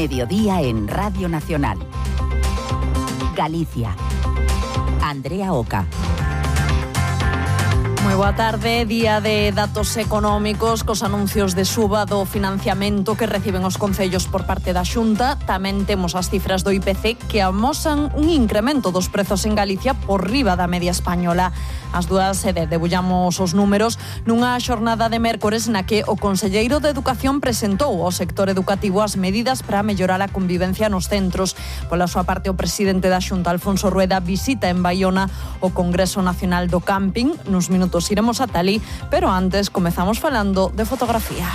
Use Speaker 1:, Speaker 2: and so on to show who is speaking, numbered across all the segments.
Speaker 1: Mediodía en Radio Nacional. Galicia. Andrea Oca.
Speaker 2: Moi boa tarde, día de datos económicos cos anuncios de suba do financiamento que reciben os concellos por parte da Xunta. Tamén temos as cifras do IPC que amosan un incremento dos prezos en Galicia por riba da media española. As dúas debullamos os números nunha xornada de mércores na que o conselleiro de Educación presentou ao sector educativo as medidas para mellorar a convivencia nos centros. Pola súa parte, o presidente da Xunta, Alfonso Rueda, visita en Baiona o Congreso Nacional do Camping. Nos minutos iremos ata alí, pero antes comezamos falando de fotografía.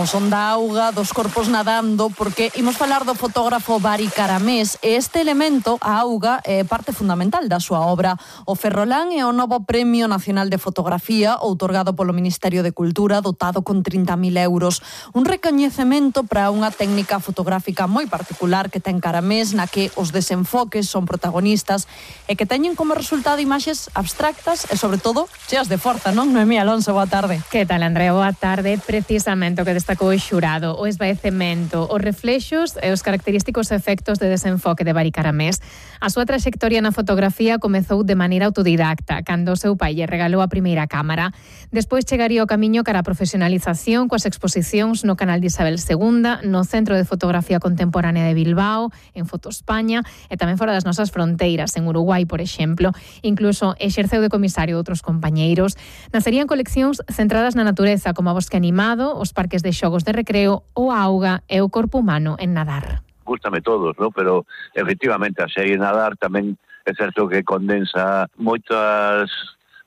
Speaker 2: O son da auga, dos corpos nadando, porque imos falar do fotógrafo Bari Caramés e este elemento, a auga, é parte fundamental da súa obra. O Ferrolán é o novo Premio Nacional de Fotografía, outorgado polo Ministerio de Cultura, dotado con 30.000 euros. Un recoñecemento para unha técnica fotográfica moi particular que ten Caramés, na que os desenfoques son protagonistas e que teñen como resultado imaxes abstractas e, sobre todo, cheas de forza, non? Noemí Alonso, boa tarde.
Speaker 3: Que tal, Andrea? Boa tarde. Precisamente o que destacou o xurado, o esvaecemento, os reflexos e os característicos efectos de desenfoque de Bari Caramés. A súa traxectoria na fotografía comezou de maneira autodidacta, cando o seu pai lle regalou a primeira cámara. Despois chegaría o camiño cara a profesionalización coas exposicións no canal de Isabel II, no Centro de Fotografía Contemporánea de Bilbao, en Foto España e tamén fora das nosas fronteiras, en Uruguai, por exemplo. Incluso exerceu de comisario de outros compañeiros. Nacerían coleccións centradas na natureza, como a Bosque Animado, os parques de xogos de recreo, o auga e o corpo humano en nadar.
Speaker 4: Gústame todos, ¿no? Pero efectivamente a serie Nadar tamén é certo que condensa moitas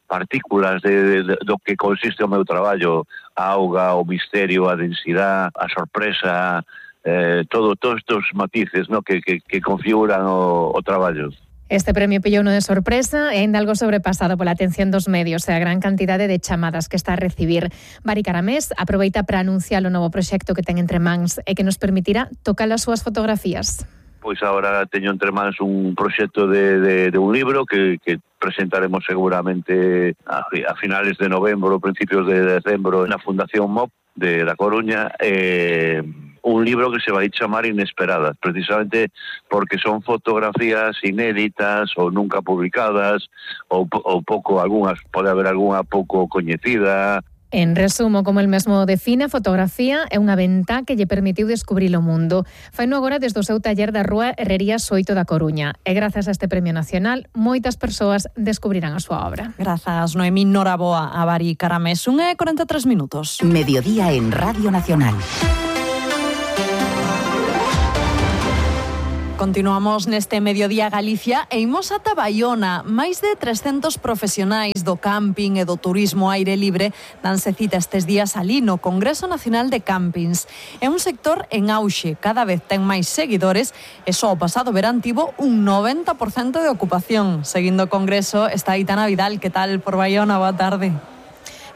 Speaker 4: partículas do que consiste o meu traballo, a auga, o misterio, a densidade, a sorpresa, todos estes matices, ¿no? que configuran o traballo.
Speaker 3: Este premio pillou uno de sorpresa e ainda algo sobrepasado pola atención dos medios e a gran cantidade de chamadas que está a recibir. Bari Caramés aproveita para anunciar o novo proxecto que ten entre mans e que nos permitirá tocar as súas fotografías.
Speaker 4: Pois agora teño entre mans un proxecto de un libro que presentaremos seguramente a finales de novembro, principios de decembro na Fundación MOP da Coruña. Un libro que se vai chamar Inesperadas, precisamente porque son fotografías inéditas ou nunca publicadas, ou pouco, algunhas, pode haber algunha pouco coñecida.
Speaker 3: En resumo, como el mesmo define, a fotografía é unha ventá que lle permitiu descubrir o mundo. Faino agora desde o seu taller da Rúa Herrería Soito da Coruña. E grazas a este premio nacional, moitas persoas descubrirán a súa obra.
Speaker 2: Grazas, Noemí. Noraboa a Bari Caramés. 1:43 minutos.
Speaker 1: Mediodía en Radio Nacional.
Speaker 2: Continuamos neste Mediodía Galicia e imos ata Baiona. Máis de 300 profesionais do camping e do turismo aire libre danse cita estes días alí no Congreso Nacional de Campings. É un sector en auxe, cada vez ten máis seguidores e só o pasado verán tivo un 90% de ocupación. Seguindo o Congreso está Aitana Vidal. Que tal por Baiona? Boa tarde.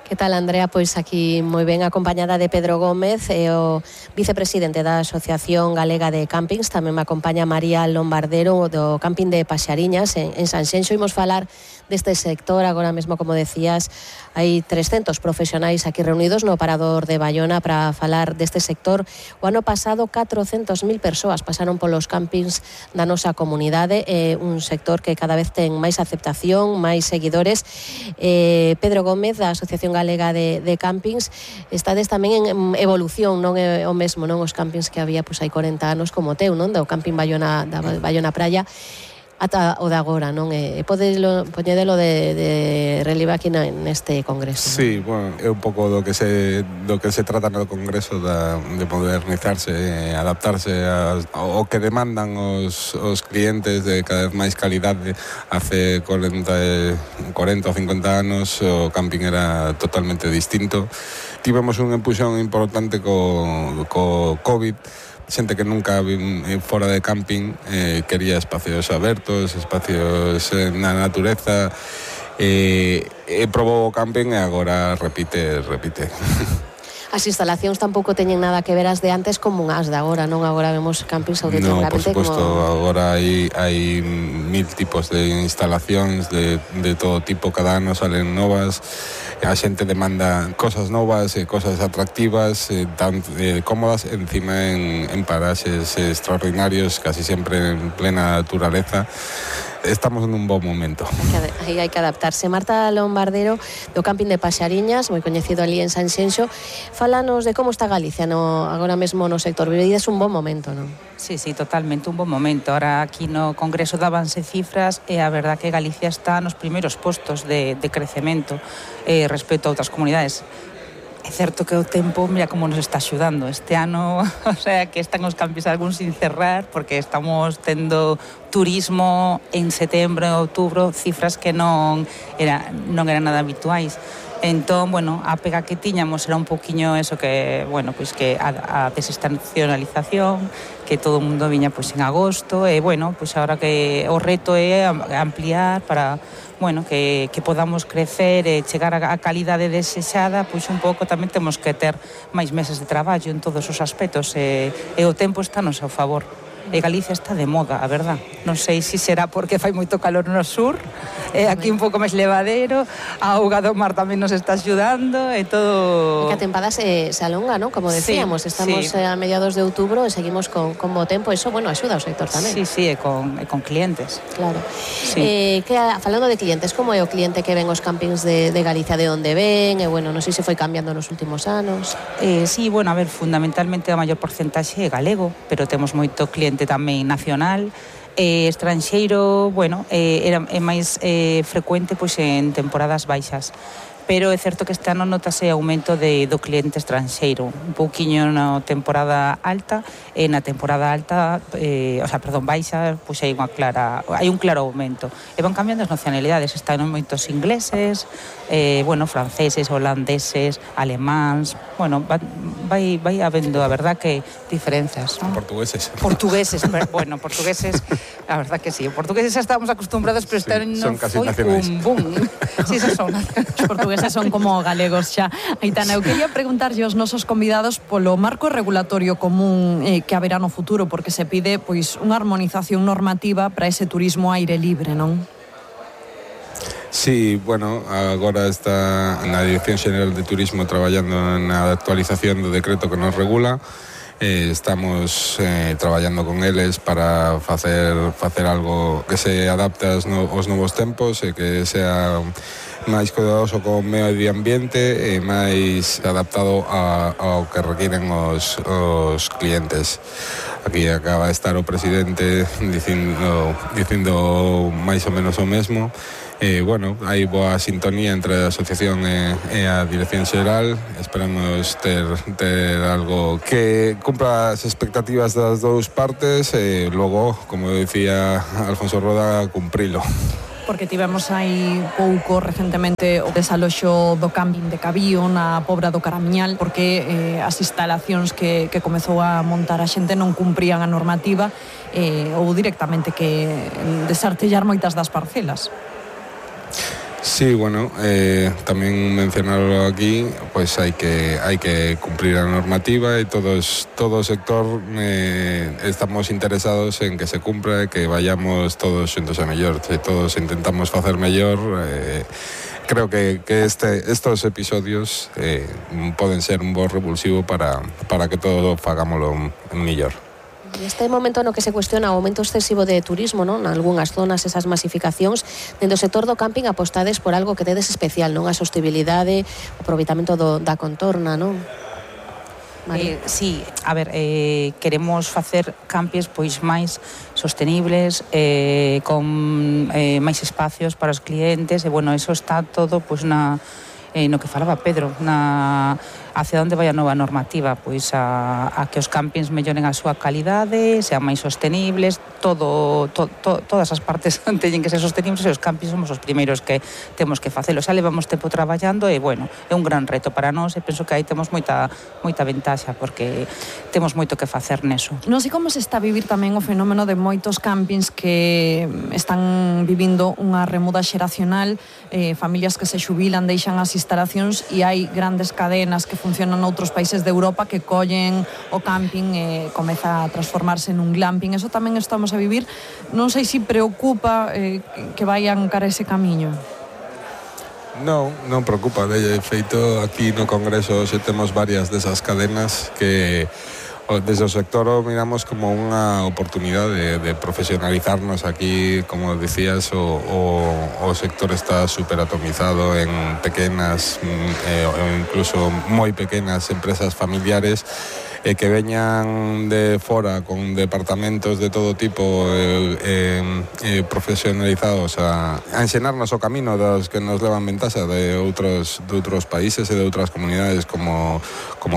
Speaker 5: Que tal, Andrea? Pois aquí moi ben acompañada de Pedro Gómez, o vicepresidente da Asociación Galega de Campings. Tamén me acompaña María Lombardero do Camping de Paxariñas en Sanxenxo. Imos falar deste sector. Agora mesmo, como decías, hai 300 profesionais aquí reunidos no parador de Baiona para falar deste sector. O ano pasado 400.000 persoas pasaron polos campings da nosa comunidade. É un sector que cada vez ten máis aceptación, máis seguidores. Pedro Gómez, da Asociación Galega de Campings, estades tamén en evolución, non é o mesmo, non os campings que había hai 40 anos como o teu, non? Do Camping Baiona, da Baiona Praia, ata o de agora, non? E poñedelo de relieve aquí neste congreso.
Speaker 6: Sí, bueno, é un pouco do que se trata no congreso de modernizarse, adaptarse ao que demandan os clientes de cada vez máis calidade. Hace 40 ou 50 anos o camping era totalmente distinto. Tivemos un empuxón importante co COVID. Xente que nunca fora de camping quería espacios abertos, espacios na natureza, probou o camping e agora repite.
Speaker 5: As instalacións tampouco teñen nada que ver as de antes como as de agora, non? Agora vemos campings auténticamente
Speaker 6: por supuesto,
Speaker 5: como...
Speaker 6: agora hai 1000 tipos de instalacións de todo tipo, cada ano salen novas, a xente demanda cosas novas e cosas atractivas, tan cómodas, encima en paraxes extraordinarios, casi sempre en plena naturaleza. Estamos en un bon momento.
Speaker 5: Aí hai que adaptarse. Marta Lombardero, do camping de Paxariñas, moi coñecido ali en Sanxenxo, fálanos de como está Galicia agora mesmo no sector. Vivides un bon momento, non?
Speaker 7: Sí, totalmente, un bon momento. Ahora aquí no Congreso dábanse cifras e a verdad que Galicia está nos primeiros postos de crecemento respecto a outras comunidades. É certo que o tempo, mira como nos está axudando este ano, o sea, que están os campings algúns sin cerrar, porque estamos tendo turismo en setembro e outubro, cifras que non eran nada habituais. Entón, bueno, a pega que tiñamos era un poquinho eso que, bueno, pois que a desestacionalización, que todo o mundo viña pois en agosto, e bueno, pois agora que o reto é ampliar para, bueno, que podamos crecer e chegar a calidade desexada, pois un pouco tamén temos que ter máis meses de traballo en todos os aspectos e o tempo está no seu favor. E Galicia está de moda, a verdad. Non sei se será porque fai moito calor no sur, e aquí un pouco máis levadero, a auga do mar tamén nos está axudando, e todo...
Speaker 5: E que a tempada se alonga, non? Como decíamos, estamos a mediados de outubro e seguimos con bo tempo, eso, bueno, axuda ao sector tamén.
Speaker 7: Sí, e con clientes.
Speaker 5: Claro. Sí. Falando de clientes, como é o cliente que ven os campings de Galicia, de onde ven? E, bueno, non sei se foi cambiando nos últimos anos.
Speaker 7: Sí, bueno, a ver, fundamentalmente a maior porcentaxe é galego, pero temos moito cliente tamén nacional, estranxeiro, bueno, é máis frecuente pois en temporadas baixas. Pero é certo que este ano notase aumento do cliente estranxeiro, un pouquiño na temporada alta, e na temporada alta, baixa, pois hai un claro aumento. E van cambiando as nacionalidades, están moitos ingleses, franceses, holandeses, alemáns, bueno, vai habendo, a verdad que diferenzas, non?
Speaker 6: Portugueses,
Speaker 7: a verdad que sí, portugueses xa estábamos acostumbrados, pero este ano foi un boom. Sí, son
Speaker 2: os portugueses son como galegos xa. Aitana, eu quería preguntarlle aos nosos convidados polo marco regulatorio común que haberá no futuro, porque se pide pois unha armonización normativa para ese turismo aire libre, non?
Speaker 6: Sí, bueno, agora está na Dirección Xeral de Turismo traballando na actualización do decreto que nos regula. Estamos traballando con eles para facer algo que se adapte aos novos tempos e que sea máis cuidadoso co medio ambiente e máis adaptado ao que requiren os clientes. Aquí acaba de estar o presidente dicindo máis ou menos o mesmo. Bueno, hai boa sintonía entre a asociación e a Dirección Xeral. Esperamos ter algo que cumpra as expectativas das dous partes e logo, como decía Alfonso Roda, cumprilo.
Speaker 2: Porque tivemos aí pouco recentemente o desaloxo do camping de Cabío na Pobra do Caramiñal, porque as instalacións que comezou a montar a xente non cumprían a normativa, ou directamente que desartellar moitas das parcelas.
Speaker 6: Sí, bueno, tamén mencionarlo aquí, pois hai que cumprir a normativa e todo o sector estamos interesados en que se cumpra e que vayamos todos xuntos a mellor. Se todos intentamos facer mellor, creo que estos episodios poden ser un bo revulsivo para que todos fagámoslo mellor.
Speaker 5: Neste momento no que se cuestiona o aumento excesivo de turismo, non? Nalgúnas zonas esas masificacións, dentro do sector do camping apostades por algo que tedes especial, non? A sostibilidade, o aproveitamento da contorna, non?
Speaker 7: Sí, a ver, queremos facer campings pois máis sostenibles, con máis espacios para os clientes, e bueno, eso está todo pois no que falaba Pedro, hacia onde vai a nova normativa, pois a que os campings melloren a súa calidade, sean máis sostenibles, todas as partes teñen que ser sostenibles, e os campings somos os primeiros que temos que facelo. Xa levamos tempo traballando e, bueno, é un gran reto para nós e penso que aí temos moita ventaxa porque temos moito que facer neso.
Speaker 2: Non sei como se está a vivir tamén o fenómeno de moitos campings que están vivindo unha remuda xeracional, familias que se xubilan, deixan as instalacións e hai grandes cadenas que funciona noutros países de Europa que collen o camping e comeza a transformarse nun glamping. Eso tamén estamos a vivir. Non sei se preocupa que vayan cara ese camiño.
Speaker 6: Non preocupa. De feito, aquí no Congreso xe temos varias desas cadenas que desde o sector o miramos como unha oportunidade de profesionalizarnos. Aquí, como decías, o sector está superatomizado en pequenas ou incluso moi pequenas empresas familiares que veñan de fora con departamentos de todo tipo profesionalizados a ensinarnos o camino dos que nos levan ventaxa de outros países e de outras comunidades como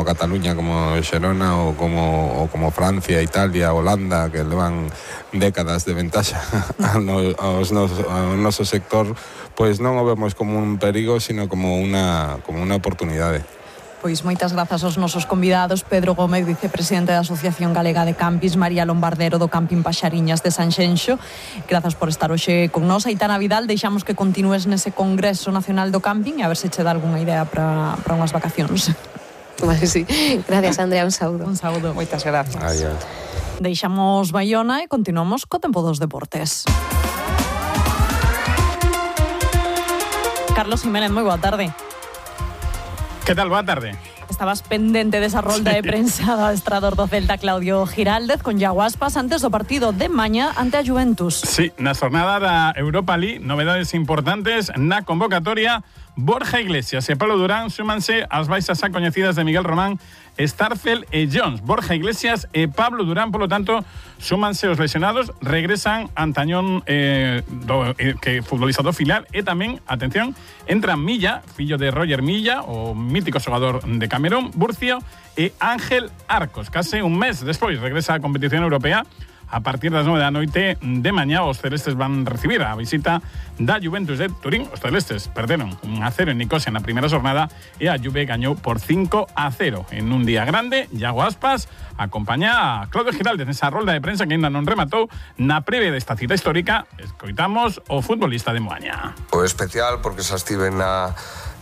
Speaker 6: Cataluña, como Xerona ou como Francia, Italia, Holanda, que levan décadas de ventaxa ao noso sector. Pois non o vemos como un perigo, sino como unha oportunidade.
Speaker 2: Pois moitas grazas aos nosos convidados, Pedro Gómez, vicepresidente da Asociación Galega de Campings, María Lombardero do Camping Paxariñas de Sanxenxo. Grazas por estar hoxe con nós. Aitana Vidal, deixamos que continúes nese Congreso Nacional do Camping e a ver se che dá algunha idea para unhas vacacións.
Speaker 5: Vale, sí. Gracias, Andrea, un saúdo.
Speaker 2: Un saúdo.
Speaker 7: Moitas gracias.
Speaker 2: Deixamos Baiona e continuamos co tempo dos deportes. Carlos Jiménez, moi boa tarde.
Speaker 8: Que tal? Boa tarde.
Speaker 2: Estabas pendente desa rolda de prensa do adestrador do Celta, Claudio Giraldez, con Iago Aspas antes do partido de mañá ante a Juventus.
Speaker 8: Sí, na xornada da Europa League, novedades importantes na convocatoria. Borja Iglesias e Pablo Durán súmanse ás baixas xa coñecidas de Miguel Román, Starfel e Jones. Borja Iglesias e Pablo Durán, polo tanto, súmanse os lesionados, regresan Antañón, que futbolista do filial, e tamén, atención, entra Milla, fillo de Roger Milla, o mítico xogador de Camerún, Burcio, e Ángel Arcos. Case un mes despois regresa a competición europea. A partir das 9 da noite de mañá os celestes van recibir a visita da Juventus de Turín. Os celestes perderon 1-0 en Nicosia na primeira xornada e a Juve gañou por 5-0 en un día grande. Iago Aspas acompaña a Claudio Giraldez nesa rolda de prensa que ainda non rematou. Na previa desta cita histórica escoitamos o futbolista de Moaña.
Speaker 9: O especial porque xa estive na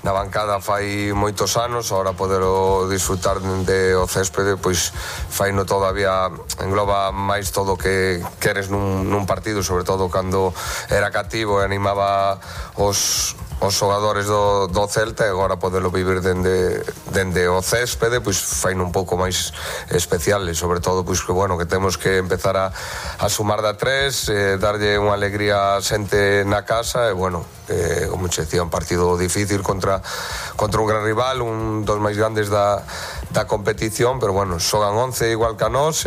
Speaker 9: bancada fai moitos anos, ahora podero disfrutar de o céspede, pois faino todavía, engloba máis todo o que queres nun partido, sobre todo cando era cativo e animaba os xogadores do Celta, e agora podelo vivir dende o céspede, pois faino un pouco máis especial, e sobre todo pois que bueno, que temos que empezar a sumar da 3, darlle unha alegría a xente na casa, e bueno, como che decía, un partido difícil contra un gran rival, un dos máis grandes da competición, pero bueno, xogan 11 igual que a nós,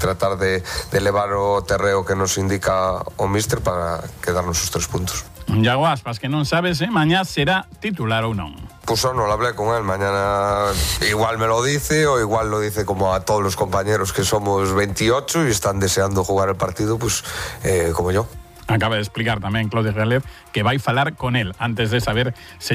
Speaker 9: tratar de levar o terreo que nos indica o míster para quedarnos os 3 puntos.
Speaker 8: Iago Aspas, que non sabes, mañá será titular ou non.
Speaker 9: Pues no lo hablé con él, mañana igual me lo dice o igual lo dice como a todos los compañeros que somos 28 y están deseando jugar el partido, pues como yo.
Speaker 8: Acaba de explicar tamén Claudio Giraldez que vai falar con él antes de saber se